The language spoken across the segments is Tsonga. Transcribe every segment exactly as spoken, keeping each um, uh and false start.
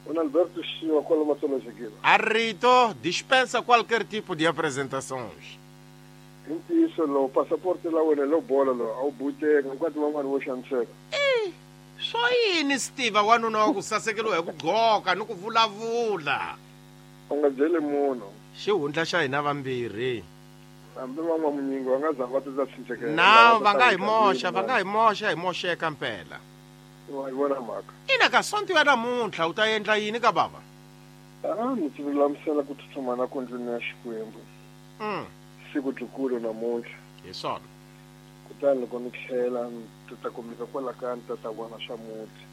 O Alberto Chiu, qual uma só Arrito dispensa qualquer tipo de apresentações. Isso, o passaporte lá, o bola, o bute, enquanto mamãe não chance. Eh, só yini Steve wanuna wa ku sasekeliwa hi ku gqoka ni ku vulavula. U nga byeli munhu. Xihundla xa hina vambirhi. Hambi van'wa munyingi va nga za va ta cinca. Na va nga hi moxa, va nga hi moxa, hi moxeka mpela. Wa yi vona mhaka. Ina ka sonto ya namuntlha u ta endla yini ka baba? Ah, ni tilulamisela ku tsutsuma na ku ndlwini ya Xikwembu. Mm. Siku dlukulu namuntlha. Hi swona. Kutani loko ni tlhela ni ta kumeka kwala ka ni ta ta vona swa muti.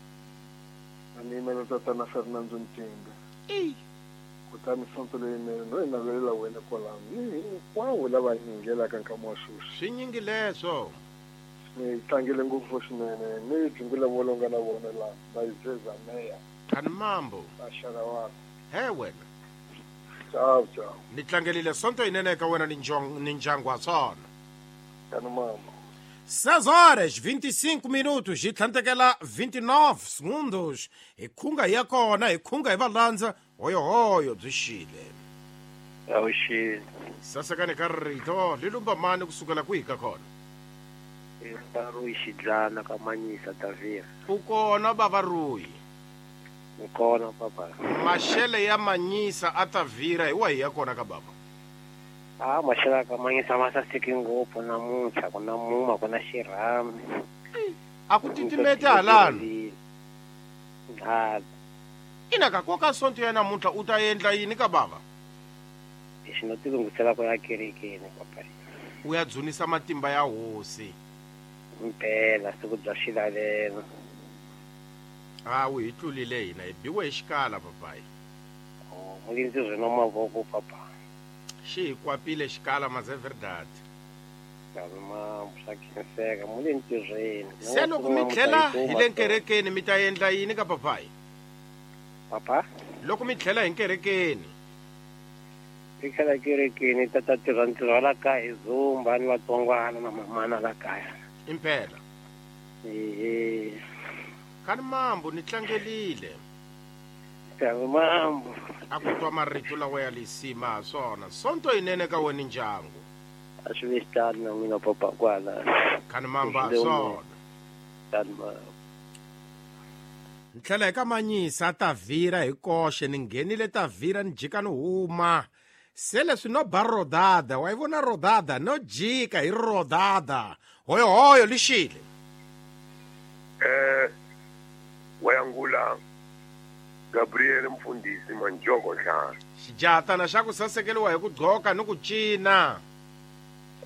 A ni yimela tatana Fernando Ntinga. Eyi. Kutani sonto leyinene no yi navelela wena kwalano ni hinkwavo lava yingelaka nkama wa sweswi. Swi nyingi leswo. Ni tlangele ngopfu swinene ni dzungula volonga na vona la va yi meya. Kani mambo. Axara wako. He wena. Ciao ciao. Ni tlangelile sonto yinene eka wena ni ni ndyangu wa swona. Kani mambo. seis horas vinte e cinco minutos hi tlhantekela vinte e nove segundos hi khunga hi ya kona hi khunga hi va landza hoyohoyo byi xile. Awuxile. Sasekani ka rito li lumba mani kusukela kwihi ka kona? Ruyi Xidlana ka Manyisa Tavira. U kona bava Ruyi? Ni kona papa. Maxele ya Manyisa a Tavira hi wahi ya kona ka baba? Ah, maxele ka Manyisa ma saseki ngopfu namuntlha, ku na muma, ku na xirhami. A ku titimeti halano. Ha. Ina ka koka sonto ya namuntlha u ta endla yini ka baba? Lexi no tilunghisela ku ya kerekeni papa. U ya dzunisa matimba ya hosi. Mpela siku bya xilalelo. Ah, u hi tlulile hina hi biwe hi xikala papayi. Oh, mulindzi rino mavoko papa. Xi hi kwapile xikala mas é verdade. Kalma swa khenseka mulintirhweni. Se loko mi tlhela hi le nkerekeni mi ta endla yini ka papayi? Papa? Loko mi tlhela hi nkerekeni. Mi tlhela kerekeni ta ta tirha ntirho wa la kaya hi zumba ni vatsongwana na mamana la kaya. Impela. Ehe. Kani mambo ni tlangelile. Kani mambo. A ku twa marito lawa ya lisima swona. Sonto yinene ka wena ndyangu. A swi ve xitalo na n'wina papa kwala. Kani mambo a swona. Kani mambo. Ni tlhela hi ka Manyisa Tavira hi koxe ni nghenile Tavira ni jika ni huma. Se leswi no ba rodada, wa yi vona rodada no jika hi rodada. Hoyohoyo lixile. Eh wayangula Gabriel mfundisi Manjoko Nhlana. Xijatana xa ku sasekeliwa hi ku gqoka ni ku cina.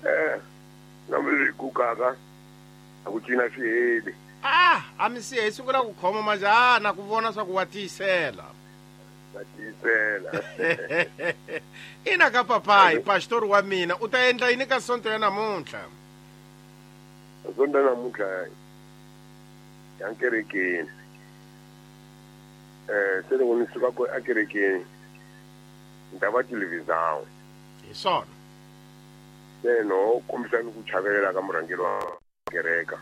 Eh na mi ku kaka a ku cina swi heli. Ah, a mi si hi sungula ku khoma majana ku vona swa ku wa tiyisela. Va tiyisela. Ina ka papayi pastor wa mina u ta endla yini ka sonto ya namuntlha? Sonto ya namuntlha ya nkerekeni. Eh se loko ni suka ko akerekeni ni ta va televisão. Hi swona. Se no kombisa ni ku chavelela ka murhangeri wa kereka.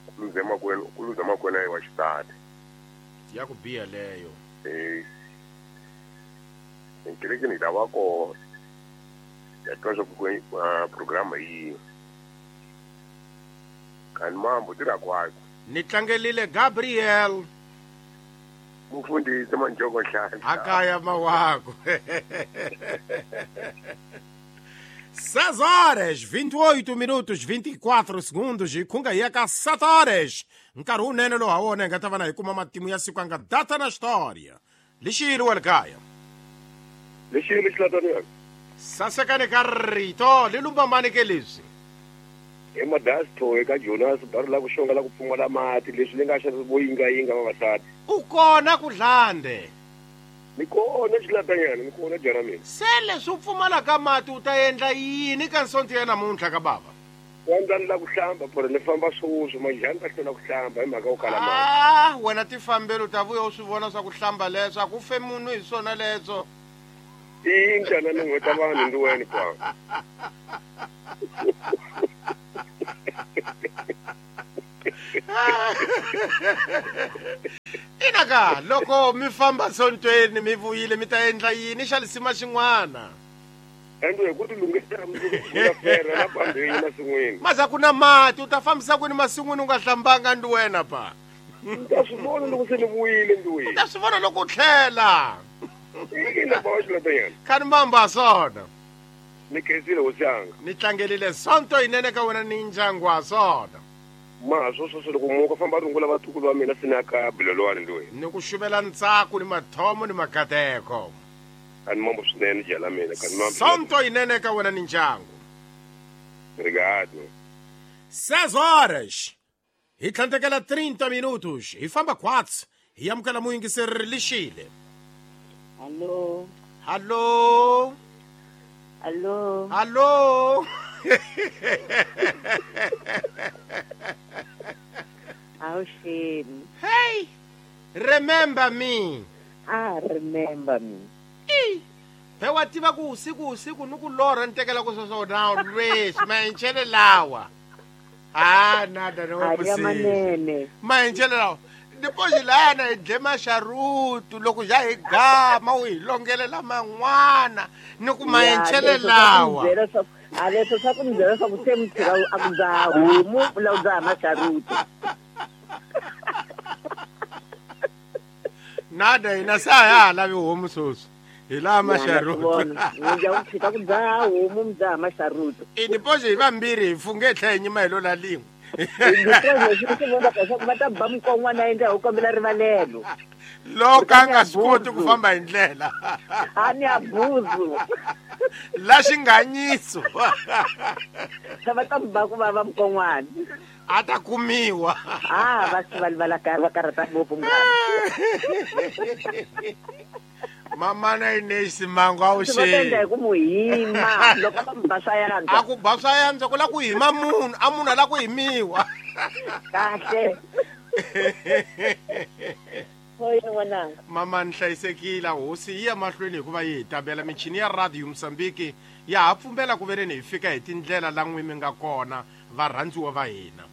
Ku luza makwenu, ku luza makwenu wa xisati. Ya ku biha leyo. Eh nkerekeni ta va kona. Ya twa swa ku programa yi. Kani mambo tirha kwako. Ni tlangelile Gabriel. Mufundisi Manjoko Nhlana. Akaya mawako. seis horas vinte e oito minutos vinte e quatro segundos hi khunga hi ya ka sete horas. Nkarhi wunene lowu ha wona hi nga ta va na hi kuma matimu ya siku a nga data na xitoria. Lixile wa le kaya. Lixile xilatana. Sasekani ka rito li lumba mani ke leswi? I Madasto eka Jonas bari la ku xonga la ku pfumala mati leswi ni nga xa vo yingayinga vavasati. U kona ku dlande. Ni kona xilatanyana, ni kona jara mina. Se leswi u pfumalaka mati u ta endla yini ka nsonto ya namuntlha ka baba? Wa ndza ni la ku hlamba pore ni famba swoswi majani ta hlwela ku hlamba hi mhaka yo kala mati. Ah, wena tifambeli u ta vuya u swi vona swa ku hlamba leswo a ku fe munhu hi swona leswo. I njhani ni n'weta vanhu ndi wena kwa. Inaka loko mi famba sontweni mi vuyile mi ta endla yini xa lisima xin'wana? Ende ku ti lunghisela mundzuku ya fera na bambeni masin'wini. Maza ku na mati u ta fambisa kwini masin'wini u nga hlambanga ndi wena pa. Ta swi vona loko se ni vuyile ndzi. U ta swi vona loko u tlhela. Ina ba wa xilatanyana. Khani mamba swona. Ni khensile hosi yanga. Ni tlangelile sonto yinene ka wena ni ndyangu wa swona. Ma swo swo loko muka famba rungula vatukulu va mina sina ka bulelwani ndzi. Ni ku xuvela ntsako ni mathomo ni makateko. Khani mambo swinene jala mina khani mambo. Sonto yinene ka wena ni ndyangu. Obrigado. Seis horas. Hi tlhandlekela trinta minutos. Hi famba quatro. Hi amukela muyingiseri lixile. Alô. Alô. Alô. Alô. Awusheni. Hey. Remember me. Ah, remember me. Eh. Phe wa tiva ku usiku usiku ni ku lorha ni tekela ku sweswo na lweswi maenchele lawa. Ah, nada no possível. Maenchele lawa. Depois lá na dle maxarutu loko ja hi gama u hi longelela man'wana ni ku maenchele lawa. A leswo swa ku mi byela swa ku se mi tshika a ku dzaha homu u lava ku dzaha maxarutu. Nada hina sa ha lavi homu sweswi. Hi laha maxarutu. Mi ya ku tshika ku dzaha homu mi dzaha maxarutu. I depois hi vambirhi hi funge tlhe hi nyima hi lo la lin'we. Depois leswi vonaka leswaku va ta ba mukon'wana endla hi kombela rivalelo. Loko a nga swi koti ku famba hi ndlela. A ni abuzu. La xinganyiso. Va ta ba ku vava mukon'wana. A ta kumiwa. Ah, va swi va la va karhata ngopfu munghana. Mama na Inês Simango a wu xi. Va endla hi ku mu hima loko va mu ba swa yantswa. A ku ba swa yantswa ku la ku hima munhu, a munhu a la ku himiwa. Kahle. Hoyini n'wananga. Mama ni hlayisekile hosi yi ya mahlweni hikuva yi hi tabela michini ya radio Mozambique ya ha pfumela ku vereni hi fika hi tindlela la n'wi mi nga kona varhandziwa va hina.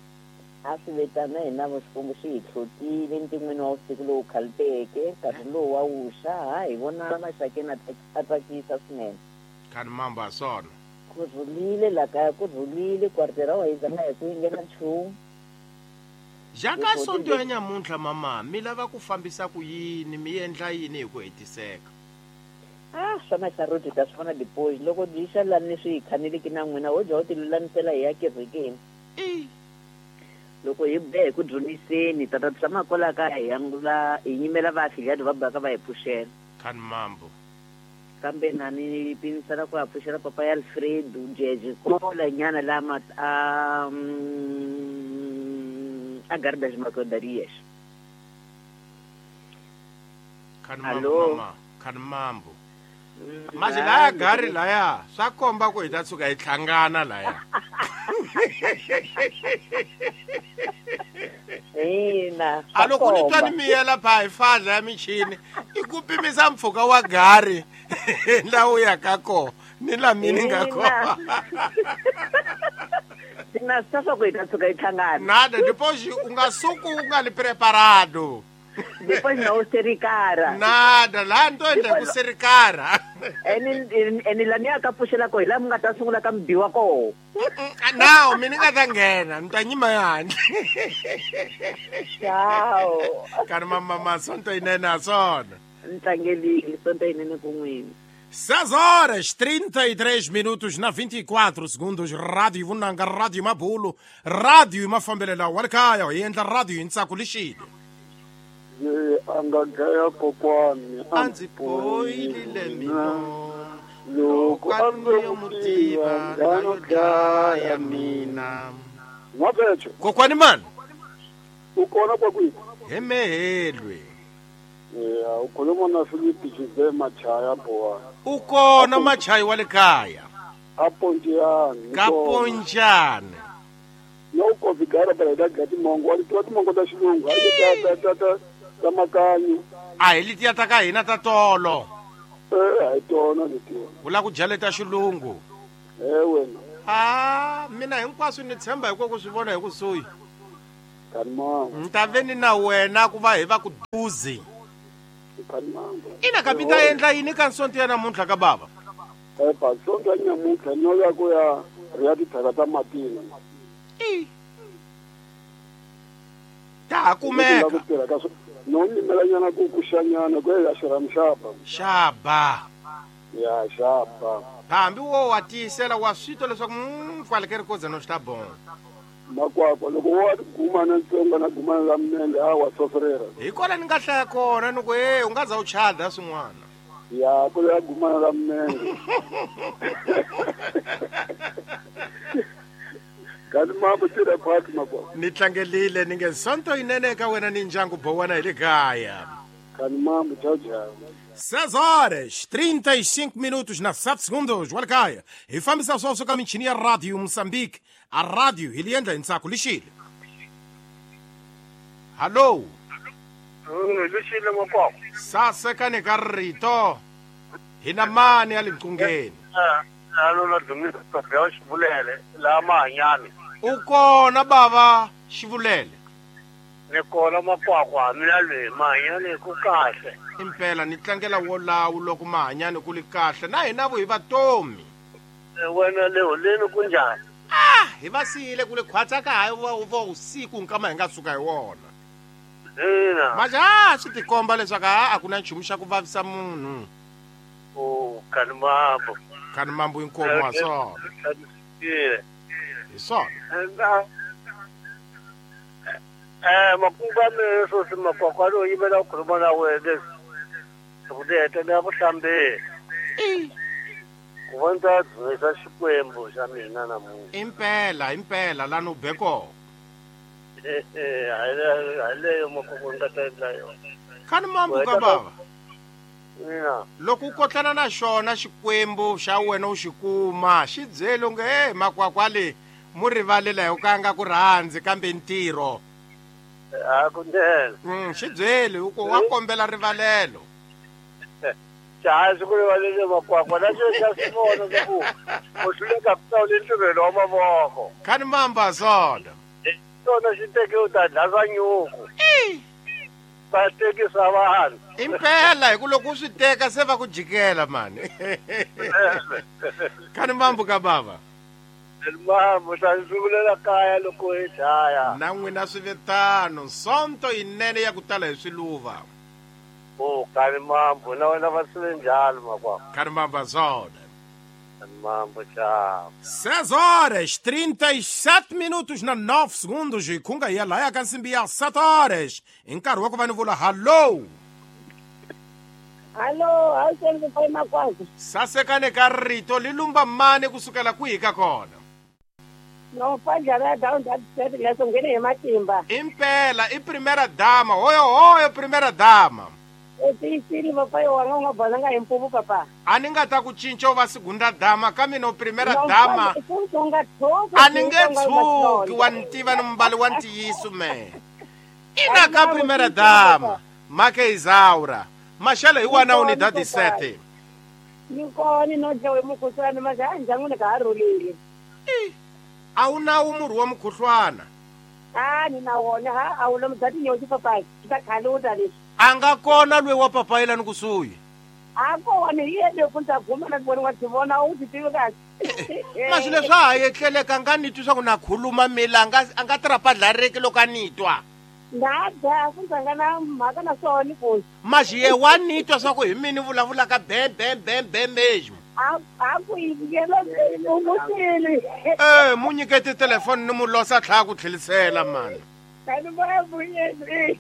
A swi vitana hina vo Xikwembu xi hi tlhotile ntin'wini wa vusiku lowu khaliteke nkarhi lowu wa wuxa ha hi vona maxakeni a tsakisa swinene. Khani mambo a swona. Ku rhulile la kaya ku rhulile kwartera wa hi zanga hi ku yingela nchumu. Jaka sonto ya nyamuntlha mama mi lava ku fambisa ku yini mi endla yini hi ku hetiseka? Ah, swa maxaruti ta swi vona depois loko byi xa lani swi hi khaneleki na n'wina wo dya u ti lulamisela hi ya kerekeni. I loko hi be hi ku dzuniseni tata tshama kwala kaya hi angula hi yimela vaafiliati va baka va hi pfuxela. Khani mambo. Kambe na ni pimisela ku ya pfuxela papa ya Alfredo Jeje kola nyana lama a a Gardas Macodarias. Khani mambo mama, khani mambo. Mas laya gari laya swa komba ku hi ta tshuka hi hlangana laya. Ina. A loko ni twa ni miyela pha hi fadla ya michini i ku pimisa mpfhuka wa gari la u ya ka kona ni la mini nga kona. Sina swa ku hi ta tshuka hi hlangana. Nada depois u nga suku u nga li preparado. Depois não serikara. Nada, lá ndo endla ku serikara. Eni eni la ni ka pfuxela ko hi la mi nga ta sungula ka mibiwa koho. Now mina nga ta nghena, ni ta nyima handle. Ciao. Kana mama mama sonto yinene a swona. Ni tlangelile sonto yinene ku n'wina. seis horas trinta e três minutos na vinte e quatro segundos. Rádio Vunanga, Rádio Mabulo, Rádio Mafambelela wa le kaya hi endla radio hi ntsako lixile. A nga dlaya kokwani a ndzi boyile mina loko a ndzi mu tiva nga yo dlaya mina. N'wapecho kokwani mani u kona kwa kwihi? Hemehelwe. Ya u khuluma na Philip Jose Machaya bowa. U kona Machaya wa le kaya? A Ponjani. Ka Ponjani. No ko vigara bela da gati mongo wa tiva timongo ta xilungu a ta ta ta ta makanyi. A hi letiya ta ka hina ta tolo. Eh a hi tona letiya. U lava ku dya leta xilungu? Eh wena. Ah, mina hinkwaswo ni tshemba hi ku swi vona hi kusuhi. Kanimambo. Ni ta ve ni na wena ku va hi va ku duzi. Kanimambo. Ina ka mi ta endla yini ka nsonto ya namuntlha ka bava? Epa, sonto ya namuntlha no ya ku ya ri ya tithaka ta matina. I. Ta kumeka. No nyimelanyana ku kuxanyana ku ya xirhamu xaba. Xaba. Ya xaba. Hambi wo wa tiyisela wa switwa leswaku mm kwale ke ri koza no swi ta bon. Makwakwa loko wa gumana ntsongo na gumana la minenge a wa soferera. Hi kona ni nga hlaya kona ni ku e u nga za u chada swin'wana. Ya ku ya gumana la minenge. Kanti mambo tira phakathi makwakwa. Ni tlangelile ni nge sonto yinene ka wena ni ndyangu bowana hi le kaya. Kanti mambo tchau tchau. seis horas, trinta e cinco minutos na sete segundos. Wala kaya. Hi fambisa swoswo ka michini ya Radio Moçambique. A rádio hi li endla hi ntsako lixile. Hallo. Lixile makwakwa. Sasekani ka rito. Hi na mani ya le mqungeni. Alo na Dumisa ya Xivulele la Mahanyani. U kona bava Xivulele. Ni kona makwakwa mina le Mahanyani ku kahle. Impela ni tlangela wolawu loko Mahanyani ku li kahle na hina vo hi vatomi. Wena le holeni ku njhani? Ah, hi va siyile ku le khwatsa ka ha va va usiku nkama hi nga suka hi wona. Ina. Maja swi tikomba leswaku a ku na nchumu xa ku vavisa munhu. Oh, kanimambo. Kanimambo inkomo wa swona. Hi swona. Eh, makungu ya mina sweswi makwakwa lowu yimela ku khuluma na wena leswi. Ku ti hetelela ku hlambeni. Ku va ndzi ta dzunisa Xikwembu xa mina namuntlha. Impela, impela la no be kona. Hi leyo makwakwa ni nga ta endla yona. Kanimambo ka bava. Ina. Loko u kotlana na xona Xikwembu xa wena u xi kuma, xi byele u nge he makwakwa le mu rivalela hi ka nga ku rhandzi kambe ntirho. A kunene. Mm, xi byele u ku wa kombela rivalelo. Xa swi ku rivalele makwakwa na xo xa swi vona swa ku u hluleka ku hlawula ntirhelo wa mavoko. Kanimamba swona. Swona xi teke u ta dlasa nyuku. Va tekisa vanhu. Impela hi ku loko u swi teka se va ku jikela mani. Kanimambo ka bava. Mambo ta ndzi vulela kaya loko hi dlaya. Na n'wina swi vitano sonto yinene ya ku tala hi swiluva. Oh, kanimambo na wena va swi njhani makwakwa. Kanimamba swona. Kanimambo tchau. seis horas, trinta e sete minutos na nove segundos. Hi khunga hi ya laya ka nsimbi ya sete horas. Hi nkarhi wa ku va ni vula hallo. Hallo, a wu seni ku makwakwa. Sasekane ka rito li lumba mani kusukela kwihi ka kona? No, fadlala down that set leso nghene hi matimba. Impela i primera dama, hoyo hoyo primera dama. U tiyisile papai wanga u nga bonanga hi mpupu papa. A ni nga ta ku cinca u va segunda dama ka mina u primera dama. A A ni nge tshuki wa ni tiva ni mbali wa ntiyiso me. Ina ka primera dama, make Isaura. Maxele hi wana u ni dadi sete. Ni kona no dlawe mukhuhlwana maxa ndyangwini ka ha rhulile. A wu na wu murhi wa mukhuhlwana? A ni na wona ha a wu lomu bya tinyoxi papai swi ta khaluta leswi. A nga kona lweyi wa papai lani kusuhi? A kona hi yena ku ndza guma na vona wa tivona u ti tivi kahle. Masi leswi a ha etleleka nga ni twi swa ku na khuluma mila a nga a nga tirhapadlareki loko a ni twa. Nda dya ku ndza nga na mhaka na swona ku. Maxi ye wa ni twa swa ku hi mina vulavulaka be be be be mesmo. A a ku yingela u Eh, mu nyikete telefoni ni mu losa tlhela ku tlhelisela mani. Kanimambo yena.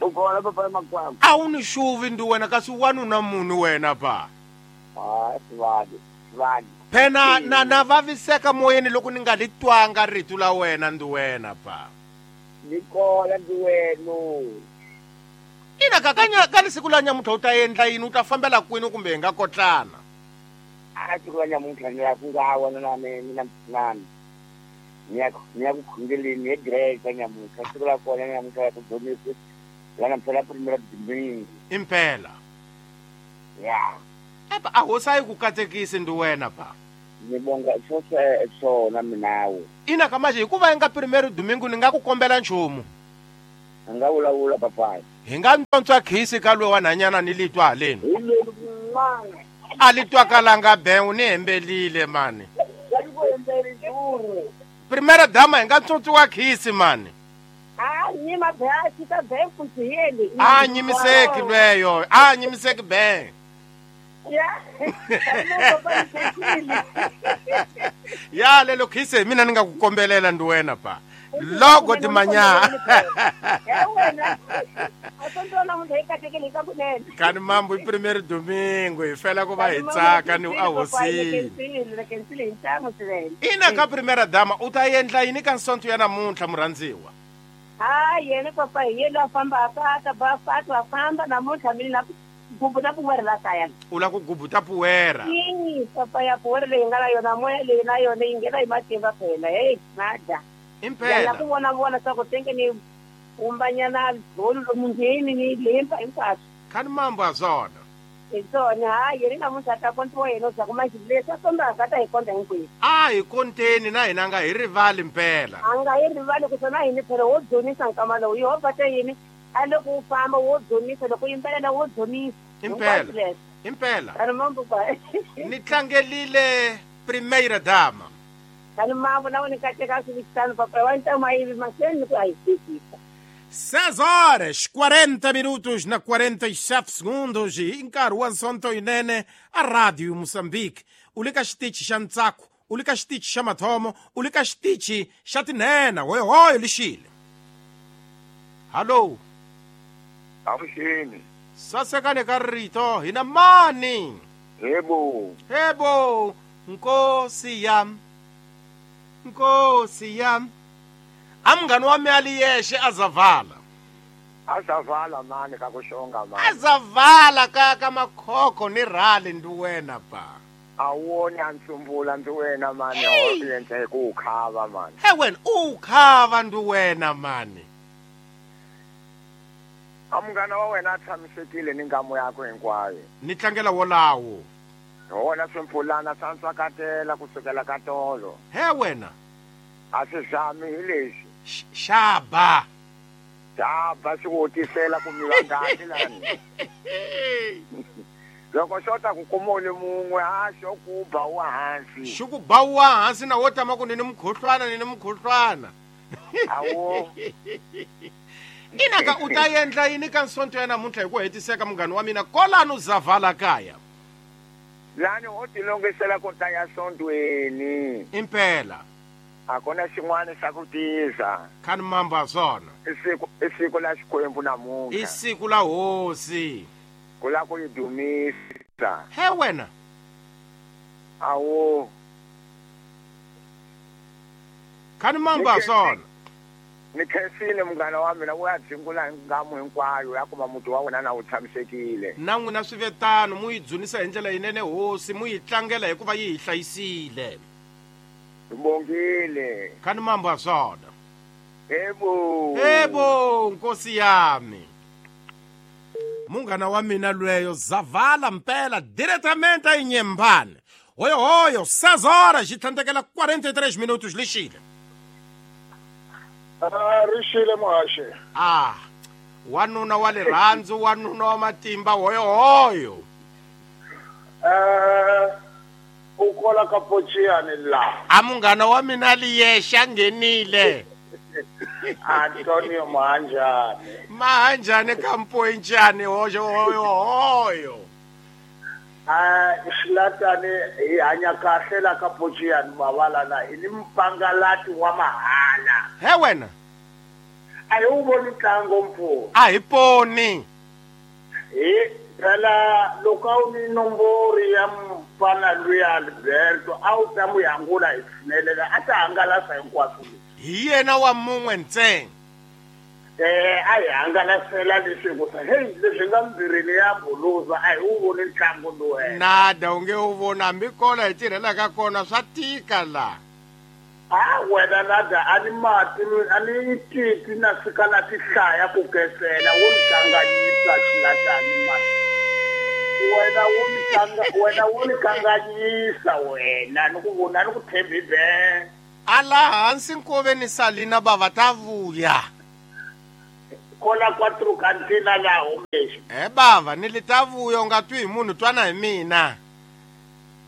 U kona papa makwakwa. A wu ni xuvi ndi wena kasi wanuna munhu wena pa. Ah, swadi, swadi. Phena na na vaviseka moyeni loko ni nga li twanga rito la wena ndi wena pa. Ni kona ndi wena. Ina ka kanya ka siku la nyamuntlha u ta endla yini u ta fambela kwini kumbe hi nga kotlana? A siku la nyamuntlha ni ya ku nga wena na mina na ni ya ni ya ku khongeleni hi grade nyamuntlha siku la kona nyamuntlha ya ku dzonisa la namuntlha la primera domingo. Impela. Ya. Epa a hosi a yi ku katekisi ndi wena pa. Ni bonga swo swona minawo. Ina ka manje hikuva nga primero domingo ni nga ku kombela nchumu. A nga vulavula papayi. Hi nga ntsontswa khisi ka loyi wa nhanyana ni litwa haleni. A li twakalanga bengu ni hembelile mani. Primera dama hi nga ntsontswa khisi mani. A nyima bya xita bengu xiyeli. A nyimiseki lweyo, a nyimiseki bengu. Ya. Ya lelo khisi mina ni nga ku kombelela ndi wena pa. Logo de manhã. Kani mambo i primeiro domingo e fela ku va hi tsaka ni a hosini. Ina ka primera dama u ta endla yini ka nsonto ya namuntlha murhandziwa? Ha yena papa yena famba ka ba fatwa famba namuntlha mina gubuta puwera la kaya. U la ku gubuta puwera. Ii papa ya puwera leyi nga na yona moya leyi na yona yi nghena hi matimba phela. Hey nada. Impela. La ku vona vona swa ku tenge ni umbanyana bolo lomungheni ni lemba hinkwaswo. Kani mambo a swona. Hi swona ha yena namuntlha ta kontiwa yena swa ku manje leswi a kombaka ta hi konta hinkwenu. A hi konteni na hina nga hi rivali mpela. A nga hi rivali ku swona hini phela wo dzunisa nkama lowu Yehovha ta yini a loko u famba wo dzunisa loko yimbelela wo dzunisa. Impela. Impela. Kani mambo ba. Ni tlangelile primeira dama. Kani mambo na wena kateka swi papa wa ntama yivi maseni ku a hi fikisa. seis horas, quarenta minutos na quarenta e sete segundos e nkarhi wa Sonto yinene a Radio Moçambique. U le ka xitichi xa ntsako, u le ka xitichi xa mathomo, u le ka xitichi xa tinhena. Hoyohoyo lixile. Hallo. Avuxeni. Sasekane ka rito hina mani. Yebo. Yebo, nkosi yam. Nkosi yam. Amngani wami aliyeshe azavala. Azavala mani ka kushonga mani. Azavala ka ka makhokho ni rali ndi wena ba. Awoni antsumbula ndi wena mani oyenze kukhava mani. He wena ukhava ndi wena mani. Amngana wa wena a tshamisekile ni ngamo yakho hinkwayo. Ni tlangela wolawo. Wona swimpfulana swa ntswakatela kusukela ka tolo. He wena. A swi zami hi lexi. Xaba. Xaba swi ku tisela ku miwa ngati lani. Loko xo ta ku kuma u le mun'we a xo ku ba wa hansi. Xi ku ba wa hansi na wo tama ku ni ni mukhuhlwana ni ni mukhuhlwana. Awo. Ina ka u ta endla yini ka nsonto ya namuntlha hi ku hetiseka munghana wa mina kolanu zavala kaya. Lani ho tilongisela ku ta ya sontweni. Impela. Akona xin'wana xa ku tisa. Kani mambo a swona. I siku i siku la Xikwembu namuntlha. I siku la hosi. Ku la ku yi dumisa. He wena. Awo. Kani mambo a swona. Ni khensile munghana wa mina u ya dzingula ngamu hinkwayo ya kuma muti wa wena na wu tshamisekile. Na n'wina swi ve tano mu yi dzunisa hi ndlela yinene hosi mu yi tlangela hikuva yi hi hlayisile. Bongile. Kani mambo a swona. Yebo. Yebo nkosi yami. Munghana wa mina lweyo zavala mpela diretamente a Inhambane. Hoyo hoyo seis horas xi tlhandlekela quarenta e três minutos lixile. Ah, rixile muhaxi. Ah, wanuna wa rirhandzu, wanuna wa matimba, hoyo hoyo. Eh, u kola ka Pochiyani la. A munghana wa mina liyexe a nghenile. Antonio Mahanjani. Mahanjani ka Mpointshane hoyo hoyo hoyo. Ah, xilatani hi hanya kahle la ka Pochiyani mavala na hi ni mpangalati wa mahala. He wena. A hi wu voni ntlango mpfula. A hi poni. Hi phela loko a wu ni nombori ya mfana luya Alberto a wu ta n'wi hangula hi tshinelela a ta hangalasa hinkwaswo. Hi yena wa mun'we ntsena. Eh, a hi hangalasela leswi ku hey leswi nga mbirini ya buluza a hi wu voni ntlangu lowu. Nada u nge wu voni hambi kona hi tirhelaka kona swa tika la. Ah wena nada a ni mati a ni titi na fika na tihlaya ku kesela wo ni kanganyisa xilatani mati. Wena wu ni kanga wena wu ni kanganyisa wena ni ku vona ni ku tshembi be. Ala hansi nkoveni Salina bava ta vuya. Kola quatro cantina la homesho. Eh bava ni li ta vuya u nga twi hi munhu twana hi mina.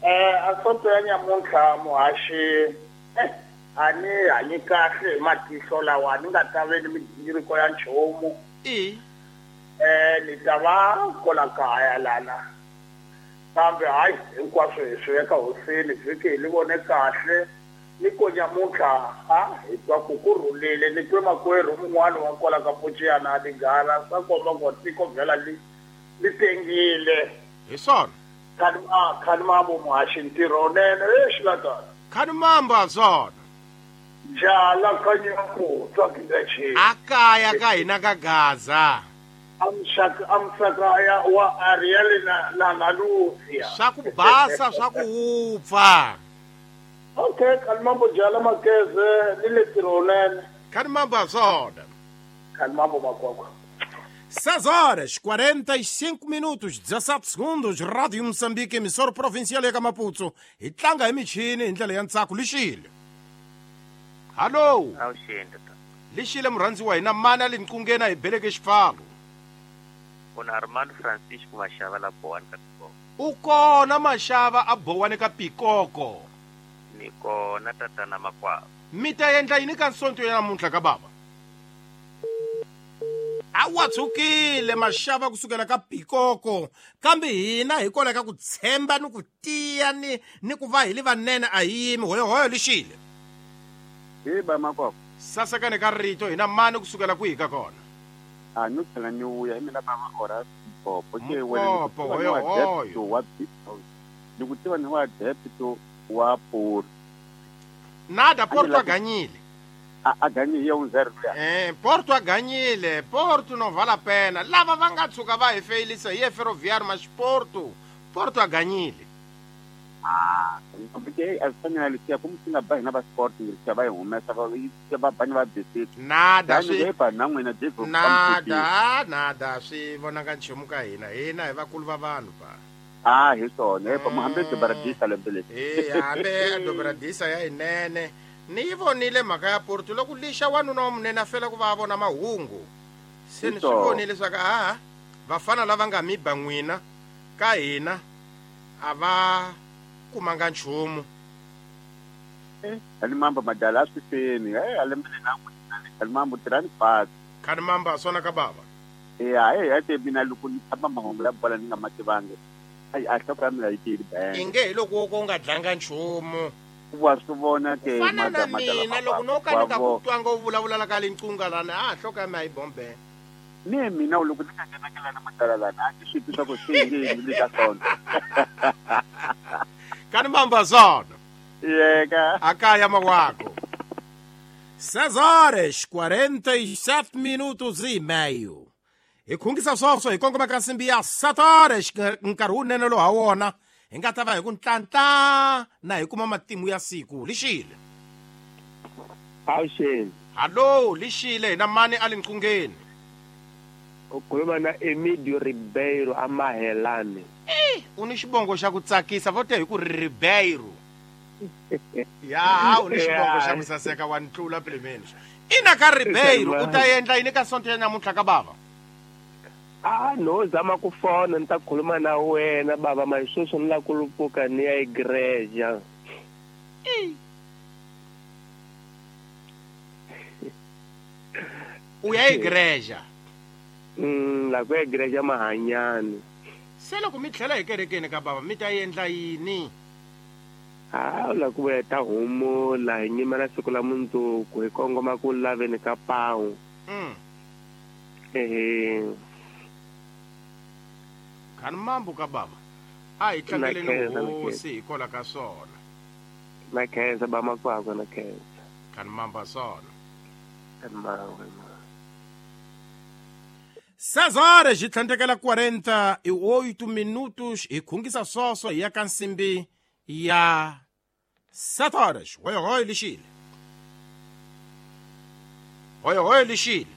Eh asonto ya nyamuntlha muhaxi eh a ni hanyi kahle hi matihlo lawa ni nga ta ve ni migingiriko ya nchumu. I eh ni ta va kola kaya lana. Kambe hayi hinkwaswo hi swi veka hosini vhiki hi li vone kahle ni ko nyamuntlha ha hi twa ku ku rhulile ni twe makwerhu mun'wana wa kwala ka Pociyana a Tinghala swa komba ku tiko vhela li li tengile. Hi swona. Khani a khani mambo muhaxi ntirho nene exi latana. Khani mambo a swona. Jala kanyaku tsakile A kaya ka hina ka Gaza. Amshaka amsaka ya wa Ariel na na na Lucia. Swa ku basa swa ku wupfa. Okay, khani mambo jala makeze ni le ntirho nene. Khani mambo a swona. Khani mambo makwakwa. seis horas, quarenta e cinco minutos, dezassete segundos, Rádio Moçambique, emissora provincial ya Maputo. Hi tlanga hi michini hi ndlela ya ntsako lixile. Hallo. Awuxeni tata. Lixile murhandzi wa hina mani a le nqungeni a hi beleke xipfalo. Kuna Armando Francisco Mashava la Bowani ka Pikoko. U kona Mashava a Bowani ka Pikoko. Ni kona tatana makwavo. Mi ta endla yini ka nsonto ya namuntlha ka baba? A wa tshukile Mashava kusukela ka Pikoko kambe hina hi kola ka ku tshemba ni ku tiya ni ni ku va hi li vanene a hi yimi hoyohoyo lixile. Hi ba makwavo. Sasekane ka rito hina mani kusukela kwihi ka kona? A no tlhela ni vuya hi mina bava ora Mpopo ke wena Mpopo hoyohoyo wa ni ku tiva ni wa depto wa Porto. Nada Porto a ganyile. A a ganyile ya un zero ya. Eh Porto a ganyile, Porto no vale a pena. Lava va nga tshuka va hi feyilisa hi ye Ferroviário mas Porto, Porto a ganyile. Ah, porque a swi lexi ku mi nga ba hina va sport ngi va hi humesa va va bani va bisiti. Nada swi ba na n'wina David. Nada, nada swi vonaka nchumu ka hina. Hina hi vakulu va vanhu ba. Ah, hi swona, pa muhambe Dobradisa lembe leri. Eh, hambe Dobradisa ya inene. Ni yi vonile mhaka ya Porto loko lixa wanuna wa munene a fela ku va vona mahungu. Se ni swi vonile leswaku a vafana lava nga mi ba n'wina ka hina a va kumanga nchumu. Khani mambo madala a swi feni. Eh, a lembe na n'wina khani mambo tirhani fasi. Khani mambo a swona ka bava. Eh, a eh, ate mina loko ni tshama mahungu ya bola ni nga ma tivangi. Ai a hloko ya mina yi tiyile benge. Inge hi loko wo ka u nga dlanga nchumu. Wa swi vona ke fana na mina loko no ka ni nga ku twanga u vulavula ka le nqunga lana a hloko ya mina yi bombe. Ne mina loko ni nga nghenakela na madala lana a ni swi twi swa ku swi yini ni ka swona. Khani mamba swona. Yeka. Akaya mawako. seis horas, quarenta e sete minutos e meio. Hi khungisa swoswo hi kongoma ka nsimbi ya sete horas nkarhi wunene lowu ha wona hi nga ta va hi ku ntlantla na hi kuma matimu ya siku lixile. Awuxeni. Hallo lixile hina mani a le nqungeni. U khuluma na Emidio Ribeiro a Mahelani. Eh, u ni xibongo xa ku tsakisa vo te hi ku ri Ribeiro. Ya, u ni xibongo xa ku saseka wa ntlula plemeni. Ina ka Ribeiro u ta endla yini ka sonto ya namuntlha ka bava? Ah, no zama ku fona ni ta khuluma na wena baba masweswo ni la ku lupuka ni ya igreja. U ya igreja? Mm, la ku ya igreja Mahanyani. Se loko mi tlhela hi kerekeni ka bava mi ta endla yini? Ah, la ku ya ta humula hi nyimela siku la mundzuku hi kongoma ku laveni ka pawu. Mm. Ehe. Khani mambo ka baba a hi tlangeleni hosi hi kola ka swona. Na khensa ba makwakwa na khensa. Khani mambo swona. Khani mambo. seis horas hi tlhandlekela quarenta e oito minutos hi khungisa swoswo hi ya ka nsimbi ya sete horas. Hoyohoyo lixile. Hoyohoyo lixile.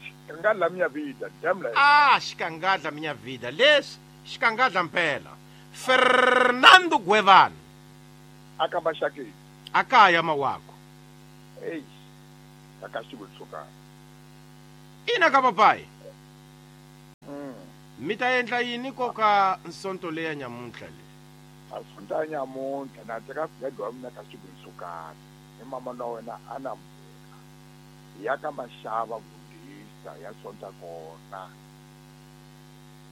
Xikangala minha vida, damla. Ah, xikangala minha vida. Leswi Xikangadla mpela. Fernando Gwevana. Aka Maxakeni. Akaya mawako. Ei. Aka xivutiso. Ina ka papai. Mm. Mi ta endla yini koka nsonto leya nyamuntlha le? A sonta nyamuntlha na teka gede wa mina ka xivutiso. Ni mama na wena ana mbuka. Ya ka Maxava vundisa ya sonta kona.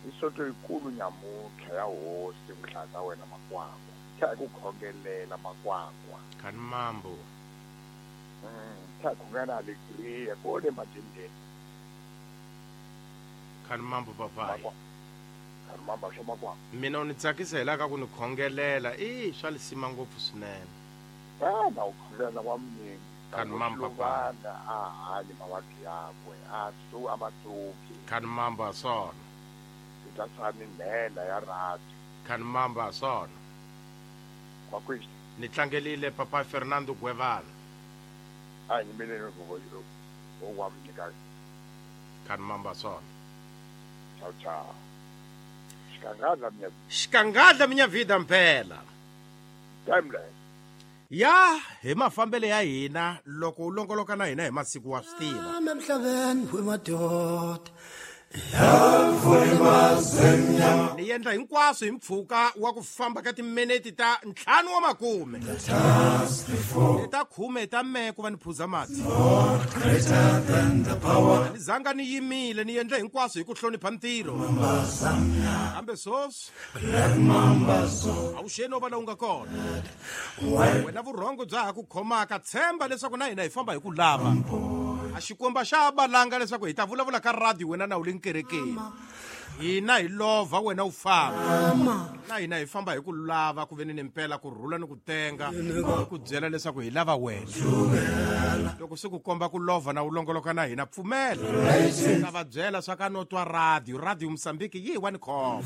Isonto yikulu nyamuntlha ya hosi mhlaka wena makwakwa. Kha ku khongelela makwakwa. Khani mambo. Mm, kha khongela alegria kole matendeni. Khani mambo papai. Khani mambo swa makwakwa. Mina u ni tsakisa hi la ka ku ni khongelela i swa lisima ngopfu swinene. Ah, na u khongelela wa mningi. Khani mambo papai. A hanyi mavabyi yakwe a su a matsuki. Khani mambo a swona. Ta nela ya rati. Khani mambo a swona. Makwisi. Ni tlangelile papa Fernando Gwevana. A yimelele go o wa mnyika. Khani mambo a swona. Ciao ciao. Xikangadla minya. Xikangadla minya vida mpela. Timeline. Ya hi mafambele ya hina loko u longoloka na hina hi masiku wa swi tiva. Emhlabeni wemadoda. Ni endla hinkwaswo hi mpfhuka wa ku famba ka timinete ta ntlhanu wa makume ta khume ta me ku va ni phuza mati ni zanga ni yimile ni endla hinkwaswo hi ku hlonipha ntirho kambe sweswi a wu xeni va la u nga kona wena vurhongo bya ha ku khomaka tshemba leswaku na hina hi famba hi ku lava a xikwembu xa balanga leswaku hi ta vulavula ka radio wena na u le nkerekeni hina hi lova wena u famba na hina hi famba hi ku lava ku veni ni mpela ku rhula ni ku tenga ku byela leswaku hi lava wena loko swi ku komba ku lova na u longoloka na hina pfumela ta va byela swa ka no twa radio radio Mozambique yi wa ni khoma.